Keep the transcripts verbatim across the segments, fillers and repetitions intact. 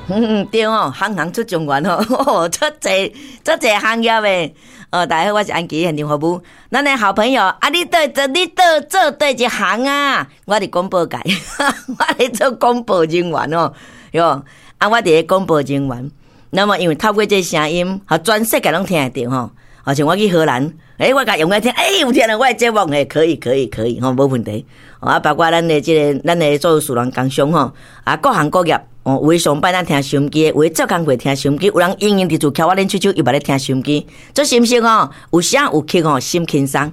嗯，對哦，行行出狀元哦，足濟足濟行業的。哦，大家好，我是安琪現場服務。咱的好朋友，啊，你佗做你佗做佗一行啊？我佇廣播界，我咧做廣播人員哦，喲，啊，我佇咧廣播人員。那麼因為透過這聲音，予全世界攏聽會著吼。好像我去荷蘭，欸，我共用來聽，欸，有聽著我的節目，欸，可以，可以，可以，吼，無問題。啊，包括咱的這個，咱的所有事人工商吼，啊，各行各業，哦，有的上班咱聽收音機，有的做工課聽收音機，有人閒閒佇厝翹我練手手，伊嘛咧聽收音機，足心聲哦，有聲有曲吼，心輕鬆。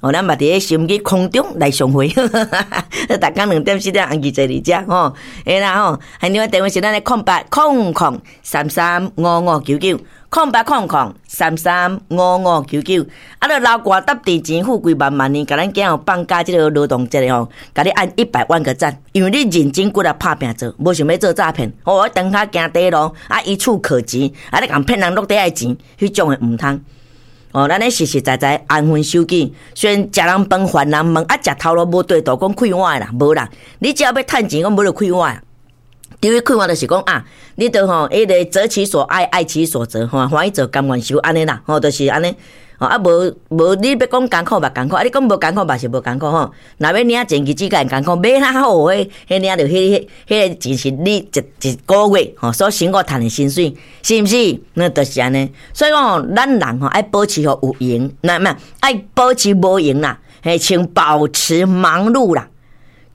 哦，咱嘛佇咧收音機空中來相會，逐工兩點四點安琪坐佇遮吼，會啦吼。現場電話是咱的空八空空三三五五九九，空八空空三三五五九九。啊，你流汗搭地錢富貴萬萬年，共咱囝予放假這個勞動節吼，共你按一百萬個讚，因為你認真骨力拍拚做，無想欲做詐騙。哦，長跤行短路，啊，一蹴可幾，啊，你共騙人落底愛錢，彼種的毋通。哦，咱咧實實在在安分守己，雖然食人飯還人問，啊，食頭路無對度講快活的啦，無啦。你只要欲趁錢，講無就快活。對於快活就是講啊，你著吼，彼個擇其所愛，愛其所擇，吼，歡喜做甘願受按呢啦，吼，就是按呢。吼，啊，無無你欲講艱苦嘛艱苦，啊，你講無艱苦嘛是無艱苦吼。若欲領錢，日子較會艱苦，欲哪好，彼彼領著彼彼彼個錢是你一一個月吼所辛苦趁的薪水，是毋是？那就是按呢。所以講，咱人吼愛保持予有閒，那毋愛保持無閒啦，嘿，像保持忙碌啦。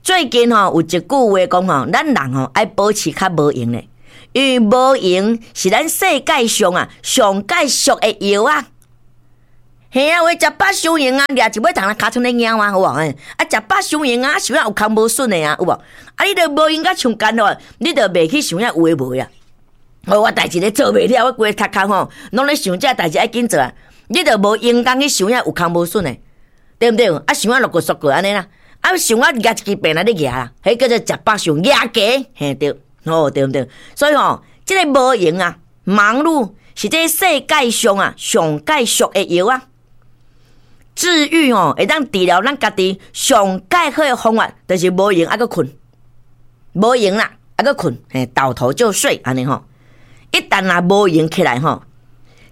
最近吼有一句話講吼，咱人吼愛保持較無閒咧，因為無閒是咱世界上啊上蓋俗的藥啊。嘿啊，有的食飽傷閒啊，掠一尾蟲來尻川咧貓啊，有無？啊，食飽傷閒啊，想遐有空無筍的啊，有無？啊，你著無閒甲像干咯，你著袂去想遐有的無的啊。哦，我代誌咧做袂了，我規个頭殼吼，攏咧想這代誌愛緊做啊。你著無閒工去想遐有空無筍的，對毋對？啊，想啊落過縮過按呢啦，啊，想啊舉一支病來咧舉啦，彼叫做食飽傷舉低，嘿對，哦對毋對？所以吼，這個無閒啊，忙碌是這世界上啊上蓋俗的藥啊。治癒吼，會當治療咱家己上蓋好的方法，就是無閒猶閣睏，無閒啦，猶閣睏，嘿，倒頭就睡按呢吼。一旦若無閒起來吼，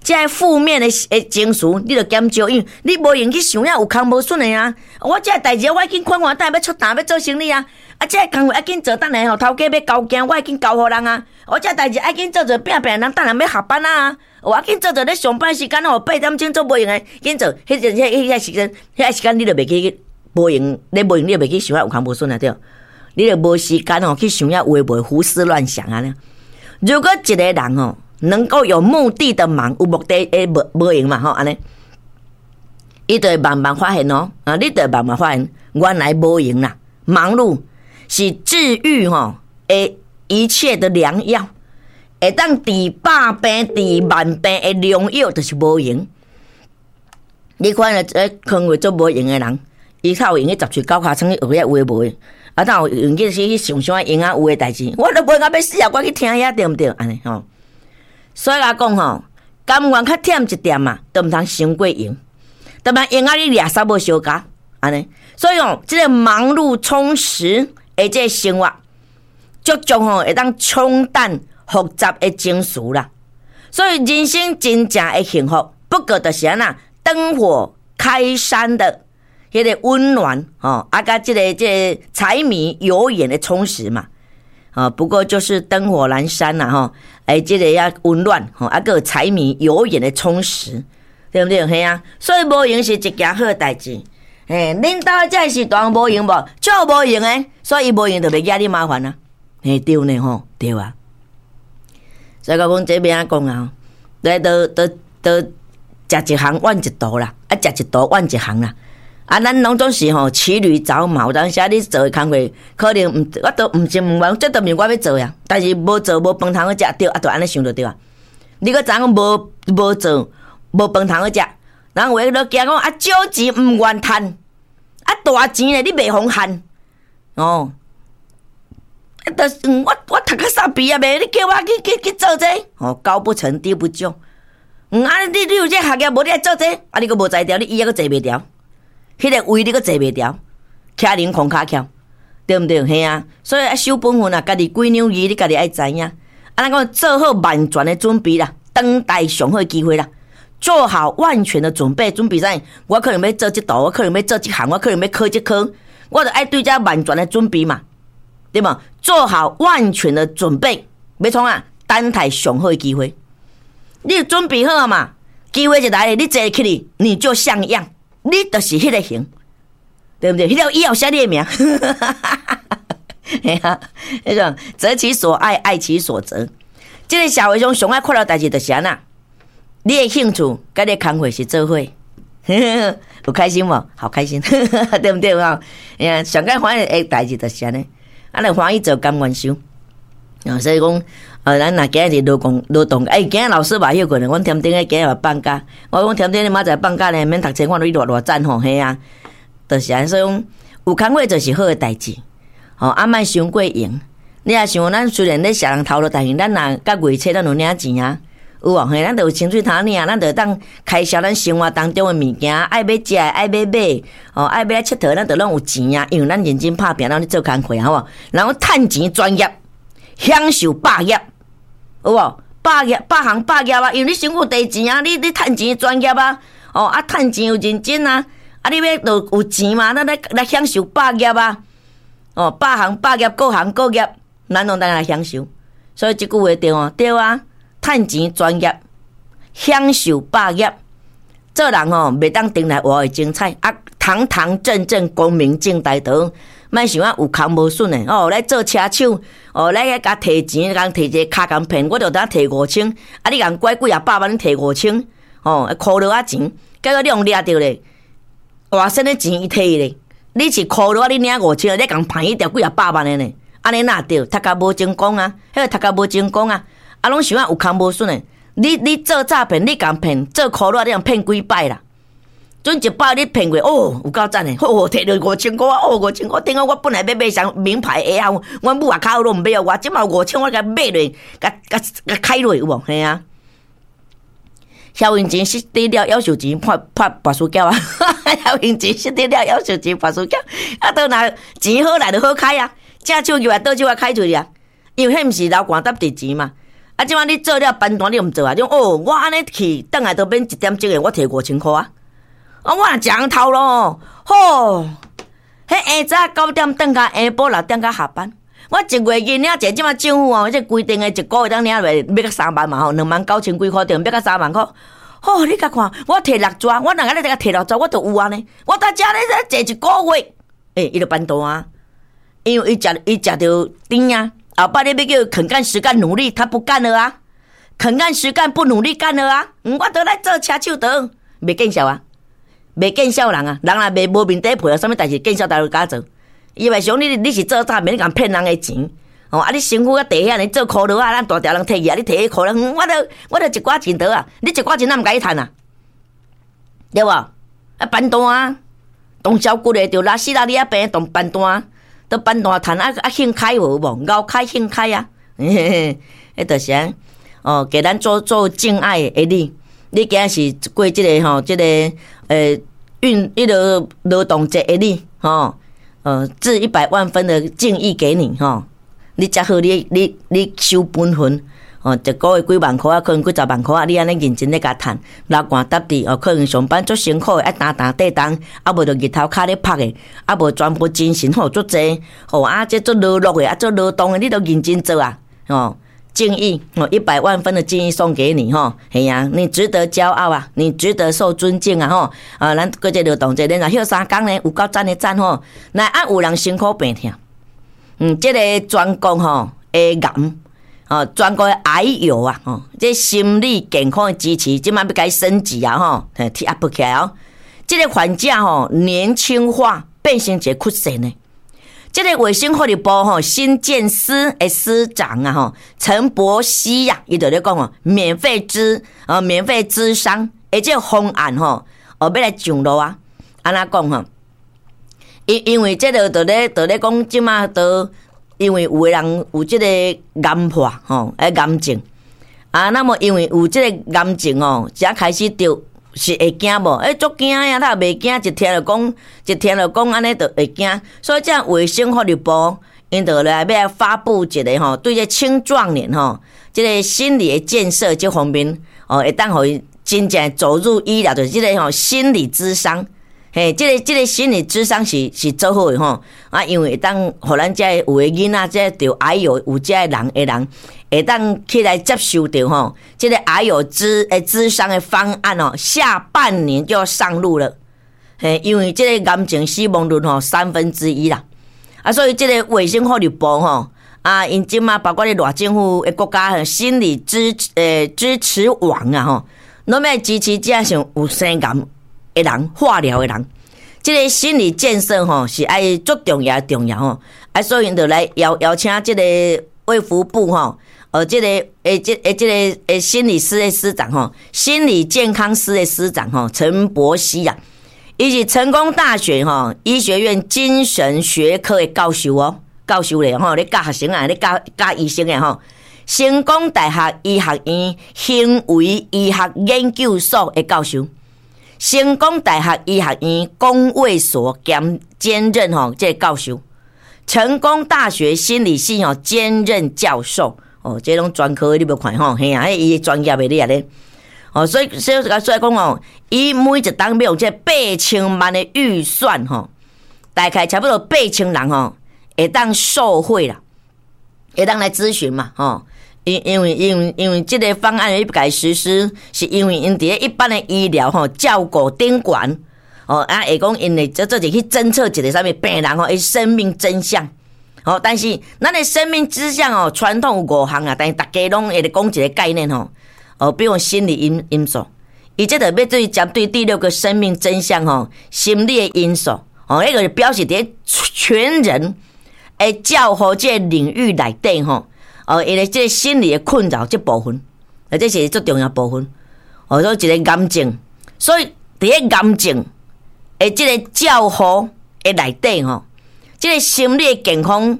這个負面的的情緒你就減少，因為你無閒去想遐有空無筍的啊。我這个代誌我愛緊款款，等下欲出單欲做生理啊。啊，這个工課愛緊做，等下吼頭家欲交件，我愛緊交予人啊。我這个代誌愛緊做做拼拼，人等下欲下班啊。我愛緊做做咧上班時間吼，八點鐘做無閒的，緊做，彼陣彼彼個時間，彼個時間你就袂去無閒，你無閒你就袂去想遐有空無筍啊對。你就無時間吼去想遐有的無的胡思亂想按呢。如果一個人吼能夠有目的的忙，有目的的無無閒嘛吼按呢，伊就會慢慢發現哦，啊，你就會慢慢發現，原來無閒啦，忙碌是治癒吼的一切的良藥。會當治百病、治萬病的良藥，就是無閒。你看咧，這坑位做無閒的人，伊較有閒去十喙九尻川去學遐有的無的，啊，哪有閒去去想想閒仔有的代誌，我都無閒欲死啊！我去聽遐對毋對？按呢吼。所以來講吼，甘願較忝一點嘛，都毋通傷過閒。特別閒啊，你掠捎無相共按呢。所以吼，這個忙碌充實的這個生活，足足吼會當沖淡複雜的情緒啦。所以人生真正的幸福，不過就是按怎燈火開山的彼個溫暖吼，啊，佮這個這個柴米油鹽的充實嘛。啊，不過就是燈火闌珊啦吼，欸，這個遐溫暖吼，啊，閣有柴米油鹽的充實，對毋對？嘿啊，所以無閒是一件好代誌。嘿，恁兜這個時段無閒無？足無閒的，所以伊無閒就袂惹你麻煩啊。嘿，對呢吼，對啊。所以講這欲按怎講啊？來都都都食一行怨一途啦，啊，食一途怨一行啦。啊，咱攏總是吼騎驢找馬，有當時啊，你做的工課可能毋，我都毋是毋願，這都毋是我欲做呀。但是無做無飯通好食，對，啊，就按呢想就對啊。你閣知影講無無做無飯通好食，人有的都驚講啊，少錢毋願趁，啊大錢咧你袂予趁，哦。啊，就是我我讀較煞畢業的，你叫我去去去做這個，哦，高不成低不就。嗯，啊，你你有這學業無？你愛做這個，啊，你閣無才調，你椅仔閣坐袂牢，彼個位你閣坐袂牢，徛靈空跤翹，對毋對？嘿啊，所以愛守本分啊，家己幾兩字，你家己愛知影。啊，啊，咱講做好萬全的準備啦，等待上好機會啦，做好萬全的準備，準備啥？我可能欲做這道，我可能欲做這行，我可能欲考這科，我就愛對這萬全的準備嘛，對無？做好萬全的準備，欲創啊？等待上好的機會，你準備好嘛？機會一來，你坐起來，你就像樣，你就是彼個型，對毋對？彼個以後寫你的名，嘿啊，彼種擇其所愛，愛其所擇。這個社會上上愛快樂代誌就是按怎？你的興趣佮你工課是做伙，有開心無？好開心，對毋對啊？哎呀，上蓋歡喜的代誌就是按呢，啊，你歡喜做甘願受啊，所以講，呃，咱若今日勞動勞動，欸，今日老師嘛歇困，阮添丁今日嘛放假，我講添丁你明仔載放假呢，免讀冊，看你偌偌讚吼，嘿啊，就是按呢，所以講有工課就是好的代誌，吼，啊，莫傷過閒。你若想咱雖然咧食人頭路，但是咱若甲月初咱有領錢啊，有無？嘿，咱就有薪水通領，咱就會當開銷咱生活當中的物件，愛欲食，愛欲買，哦，愛欲來𨑨迌，咱就攏有錢啊，因為咱認真拍拚，咱咧做工課，好無？然後趁錢專業，享受百業，有無？百業百行百業啊，因為你身軀地錢啊，你你趁錢專業啊，哦啊，趁錢有認真啊，啊，你欲就有錢嘛，咱來來享受百業啊，哦，百行百業，各行各業，咱攏當來享受。所以這句話對哦，對啊，趁錢專業，享受百業，做人吼袂當定來活會精彩啊，堂堂正正、光明正大的，莫想啊有空無筍的哦，來做車手哦，來遐共提錢，共提一個跤共騙，我就當提五千，啊，你共拐幾仔百萬，提五千，哦，箍落仔錢，結果你予掠著咧，活生的錢伊提咧，你是箍落仔，你領五千，你共騙伊著幾仔百萬的呢？按呢哪對？讀甲無成功啊，彼個讀甲無成功啊，啊，攏想啊有空無筍的，你你做詐騙，你共騙做箍落，你共騙幾擺啦？準一擺你騙過，哦，有夠讚的，好，提著五千箍啊，哦，五千箍，頂下我本來欲買雙名牌鞋啊，阮母也較好攏毋買予我，這馬五千我共買落，共共共開落有無？嘿啊，蕭永錢失得了，夭壽錢破破跋輸繳啊！蕭永錢失得了，夭壽錢跋輸繳，啊，都若錢好來就好開啊，正手入來倒手啊開出去啊，因為彼毋是流汗沓佇錢嘛。啊，這馬你做了班單你毋做啊？你講哦，我按呢去，轉來都免一點鐘的，我提五千箍啊！啊，我若食人頭路，吼，彼下早九點轉到下晡六點才下班。我一月銀領一這馬政府哦，這規定的一個月當領落欲到三萬嘛吼，兩萬九千幾箍對，欲到三萬箍。吼，你共看，我提六逝，我若按呢共提六逝，我就有按呢。我佇遮咧坐一個月，欸，伊就班單啊，因為伊食伊食著甜啊。後擺你欲叫伊肯幹實幹努力，他不幹了啊！肯幹實幹不努力幹了啊！我都來做車手得，袂見笑啊！袂見笑人啊！人若袂無面底皮，啥物代誌見笑大家敢做？伊會想你你是做詐騙，你共騙人的錢哦！啊，你辛苦啊，地遐爾做箍落啊，咱大條人提去啊，你提彼箍落，我都我都一寡錢得啊！你一寡錢咱毋共你趁啊？對無？啊，班單啊，動銷骨的就拉死拉你仔病，動班單，都班單趁啊啊興開無無？𠢕開興開啊！嘿嘿，彼就是按哦，給咱做做敬愛的你，你今日是過這個吼，這個呃運彼個勞動節的你吼，呃，致一百萬分的敬意給你吼，你才好，你你你守本分哦，一個月幾萬箍啊，可能幾十萬箍啊，你按呢認真咧共趁，流汗沓滴哦，可能上班足辛苦的，愛擔擔綴重，啊無就日頭跤咧曝的，啊無全部精神吼足濟，吼啊這足勞碌的，啊足勞動的，你都認真做啊，吼。敬意哦，一百萬分的敬意送給你吼，嘿啊，你值得驕傲啊，你值得受尊敬啊吼，啊，咱過這勞動節，咱若歇三工呢，有夠讚的讚吼，來啊有人辛苦病痛，嗯，這個全國吼的癌，哦，全國的癌友啊，吼，這心理健康的支持，這馬欲共伊升級啊吼，嘿，提 up 起來哦，這個患者吼年輕化變成一個曲線呢。這個衛生福利部吼心健司的司長啊吼陳柏希呀，伊就咧講哦，免費諮啊，免費諮商，而這個方案吼，哦欲來上路啊，按怎講吼？因因為這個就咧就咧講，這馬都因為有的人有這個癌化吼，欸癌症啊，那麼因為有這個癌症哦，才開始著是會驚無？欸，足驚呀！他也袂驚，一聽著講，一聽著講按呢，就會驚。所以這衛生福利部 𪜶就來欲來發布一个吼，對這青壯年吼，這个心理的建設這方面哦，會當予伊真正走入醫療，就是這个吼心理諮商。嘿，這个這个心理諮商是是做好的吼，啊，因為會當予咱這有的囡仔，這著癌友有這个人的人，會當起來接受著吼，這个癌友諮誒諮商的方案哦，下半年就要上路了。嘿，因為這个癌症死亡率吼三分之一啦，啊，所以這个衛生福利部吼，啊，𪜶這馬包括咧賴政府的國家心理支誒支持網啊吼，攏欲支持這像有生癌的人，化療的人，這个心理建設吼是愛足重要重要吼，啊，所以𪜶就來邀邀請這个衛福部吼，呃，這个誒，這誒，這个誒心理師的師長吼，心理健康師的師長吼，陳柏熹啊，伊是成功大學吼醫學院精神學科的教授哦，教授咧吼，咧教學生啊，咧教教醫生的吼，成功大學醫學院行為醫學研究所的教授。成功大學醫學院公衛所兼兼任吼這个教授，成功大學心理系吼兼任教授，哦，這攏專科你無看吼，嘿啊，彼伊專業的你啊咧，哦，所以所以所以講哦，伊每一冬欲用這八千萬的預算吼，大概差不多八千人吼會當受惠啦，會當來諮詢嘛，吼。因因為因為因為這个方案欲共實施，是因為𪜶佇咧一般的醫療吼照顧頂懸哦，啊會講𪜶會做做者去偵測一个啥物病人吼，伊生命徵象哦，但是咱的生命徵象哦，傳統有五項啊，但是逐家攏會咧講一个概念吼，哦，比如心理因因素，伊這就欲對針對第六個生命徵象吼，心理的因素哦，彼個表示佇咧全人的照護這个領域內底吼。哦，伊的這個心理的困擾這部分，啊，這是最重要部分。哦，所以一个癌症，所以佇咧癌症的這个照護的內底吼，這个心理的健康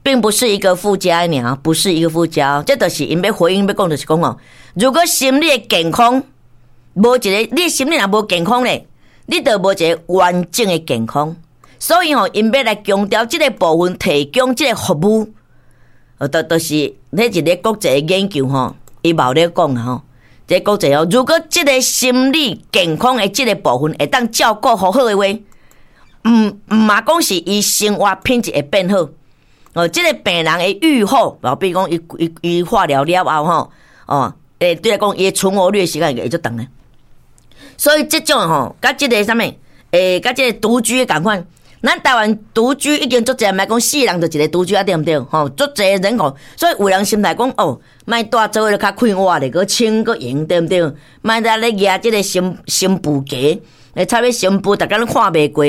並不是一個附加爾，不是一個附加，這就是𪜶欲回應欲講，就是講哦，如果心理的健康無一个，你心理若無健康咧，你就無一个完整的健康。所以吼，𪜶欲來強調這个部分，提供這个服務。哦，就就是彼一个國際的研究吼，伊嘛有咧講啊吼，這個國際哦，如果這个心理健康的這个部分會當照顧好好的話，毋毋嘛講是伊生活品質會變好，哦，這个病人的預後，哦，比如講伊伊伊化療了後吼，哦，欸，對來講伊的存活率時間會足長的，所以這種吼，佮這个啥物，欸，佮這个獨居仝款。咱台灣獨居已經足濟，莫講四人就一个獨居啊，對毋對？吼，足濟人口，所以有人心態講哦，莫蹛做伙較快活咧，閣清閣閒，對毋對？莫在咧蜈這个新新婦鞋，會插咧新婦，逐工攏看袂過，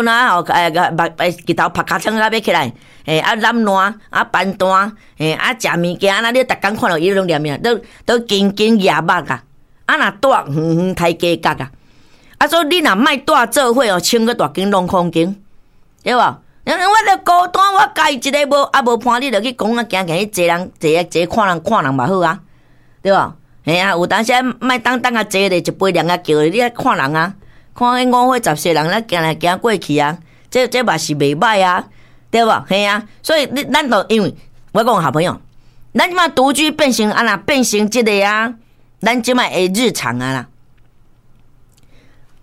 睏啊吼，欸目欸日頭曝尻川仔欲起來，欸啊攬爛啊扳單，欸啊食物件，啊你逐工看著伊攏念念，都都緊緊蜈目啊，啊若蹛遠遠刣雞角啊，啊所以你若莫蹛做伙哦，穿閣大間攏空間。對無？因為我著孤單，我家己一个無啊無伴，你著去講啊，行行去坐人坐啊坐看人看人嘛好啊，對無？嘿啊，有當時莫等等啊坐咧，一杯涼啊叫你愛看人啊，看彼五花十四人咧行來行過去啊，這這嘛是袂䆀啊，對無？嘿啊，所以你咱著因為我講好朋友，咱這馬獨居變成按怎變成這个啊，咱這馬的日常啊啦。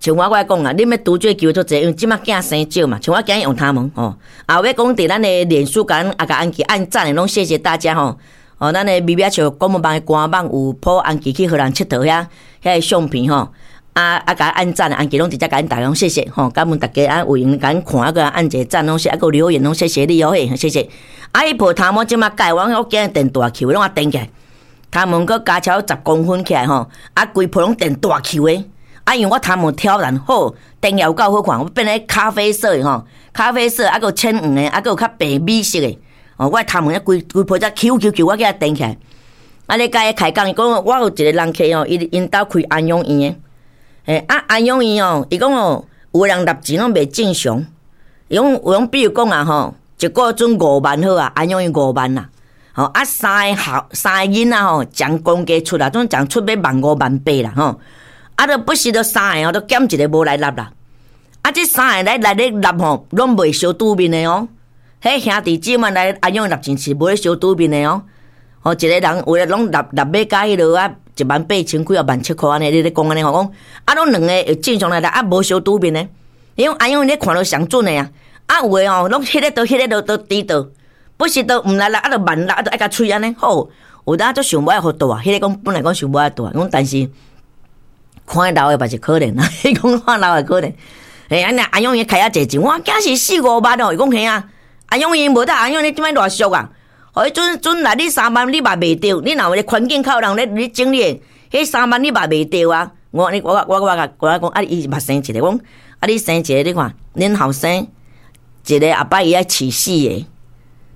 像我我講啊，你欲獨居機會足濟，因為這馬囝生少嘛。像我今日用頭毛吼，啊，欲講佇咱的臉書共啊共安琪按讚的，攏謝謝大家吼。哦，咱的微微笑廣播網的官網有 po 安琪去荷蘭𨑨迌遐遐个相片吼，啊啊共按讚，安琪攏直接共𪜶大家講謝謝吼，感恩大家啊有閒共阮看啊閣按一个讚攏是啊閣留言攏謝謝你哦嘿，謝謝。啊，伊鋪頭毛這馬改，我我今日電大球攏啊電起來，頭毛閣加超十公分起來吼，啊規鋪攏電大球的。啊，因為我頭毛挑染好，電有夠好看，我變咧咖啡色的吼，咖啡色啊，閣有淺黃的，啊，閣有較白米色的。哦，我頭毛規規鋪才 Q Q Q，我叫伊電起來。啊，咧共伊開講，伊講我有一個人客哦，伊𪜶兜開安養院的，欸啊安養院哦，伊講哦，有的人納錢攏袂正常，伊講有講比如講啊吼，一個月準五萬好啊，安養院五萬啦，吼啊三个後三个囡仔吼，將公家出啦，總將出欲萬五萬八啦吼。啊！都不時都三个吼，都減一个無來納啦。啊，這三个來來咧納吼，攏袂相拄面的哦。彼兄弟姊妹來阿勇立場是無咧相拄面的哦。哦，一個人有的攏納納買加彼落啊，一萬八千幾啊，萬七箍按呢，你咧講按呢吼，講啊，攏兩个會正常來來啊，無相拄面的，因為阿勇咧看著上準的啊，啊有的吼，攏彼个都彼个都都知道，不是都毋來來啊，就慢來啊，就愛共喙按呢好，有當足想欲愛予大，彼个講本來講想欲愛大，講但是看老的嘛是可憐啊，伊講看老的可憐，嘿，按呢阿勇伊開遐濟錢，我驚是四五萬哦，伊講嘿啊，阿勇伊無得，阿勇你這擺偌俗啊？予陣陣來你三萬你嘛袂著，你若有個環境較有人咧咧整理，彼三萬你嘛袂著啊！我你我我我我我講啊，伊嘛生一个，講啊你生一个，你看恁後生一个後擺伊愛飼四个，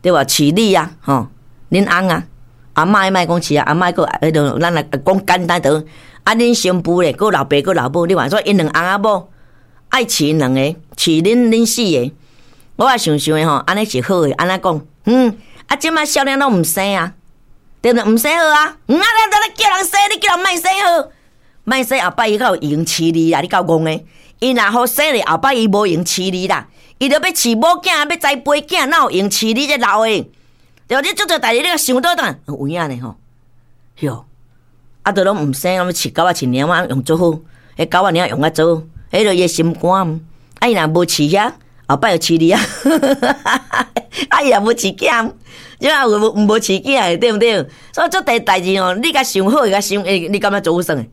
對無？飼你啊，吼，恁翁啊，阿嬤莫講飼啊，阿嬤閣彼落咱來講簡單著，啊恁新婦咧，閣老爸閣老母，你看說𪜶兩翁仔某愛飼兩个，飼恁恁四个，我也想想的吼，按呢是好的，按怎講？嗯。啊！這擺少年攏毋生啊，對毋對？毋生好啊！嗯啊，你你叫人生，你叫人莫生好，莫生後擺伊較有閒飼你啦，你夠戇的。伊若予生咧，後擺伊無閒飼你啦，伊著欲飼某囝，欲栽培囝，哪有閒飼你這老的？對，你足濟代誌，你共想倒轉，有影呢吼？喲，啊，著攏毋生，攏飼狗仔飼貓仔用足好，彼狗仔貓用較足，彼著伊的心肝。啊，伊若無飼遐，後擺就飼你啊！啊，伊也無飼囝。這啊有無無飼囝的對毋對？所以足濟代誌吼，你共想好，共想會，你感覺足有算的？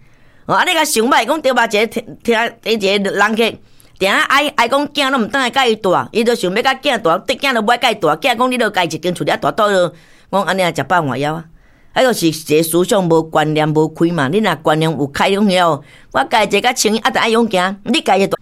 哦，啊，你共想歹，講對吧？一个聽聽一个人客，定愛愛講囝攏毋轉來佮伊蹛，伊就想欲共囝蹛，囝都無愛佮伊蹛，囝講你著家己一間厝裡蹛倒落，講按呢食飽換枵啊！啊，就是一个思想無觀念無開嘛。你若觀念有開講了，我家己一個較清，啊，著愛養囝，你家己蹛。